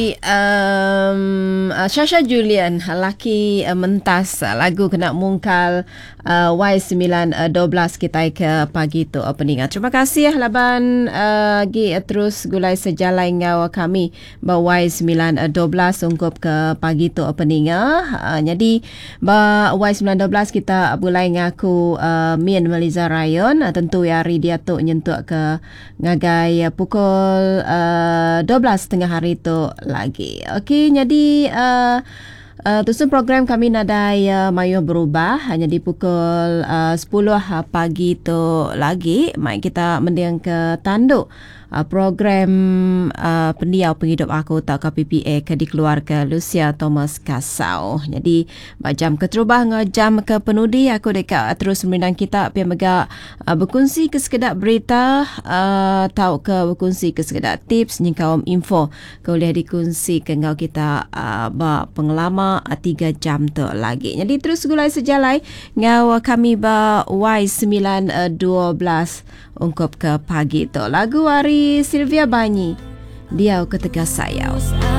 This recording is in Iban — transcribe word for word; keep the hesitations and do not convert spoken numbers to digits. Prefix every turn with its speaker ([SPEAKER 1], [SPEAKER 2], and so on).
[SPEAKER 1] Um, uh, Shasha Julian laki uh, mentas uh, lagu kena mungkal uh, Y sembilan dua belas kita ke pagi tu uh, peningat. Terima kasih laban uh, gi uh, terus gulai sejalai ngau kami ba Y sembilan dua belas ungkup ke pagi tu uh, peningat. Uh, jadi ba Y sembilan dua belas kita gulai ngaku uh, Min Meliza Rayon uh, tentu hari dia tu nyentuk ke ngagai uh, pukul uh, dua belas tengah hari tu lagi. Okey, jadi uh, uh, tusun program kami nadai uh, mayuh berubah hanya di pukul uh, sepuluh pagi tu lagi. Mai kita mendiang ke tanduk uh, program uh, pendiau penghidup aku atau K P P A ke dikeluar ke Lucia Thomas Kasau. Jadi jam keterubah ngau jam ke penudi aku dekat terus merindang kita pia mega uh, berkongsi ke sekedar berita uh, tau ke berkongsi ke sekedar tips ni kaum info ke boleh dikongsi ke ngau kita uh, ba pengelama uh, tiga jam tu lagi. Jadi terus gulai sejalai ngau kami ba Y sembilan dua belas ungkup ke pagi tu. Lagu hari Sylvia Banyi, Diau Ketegas Sayau.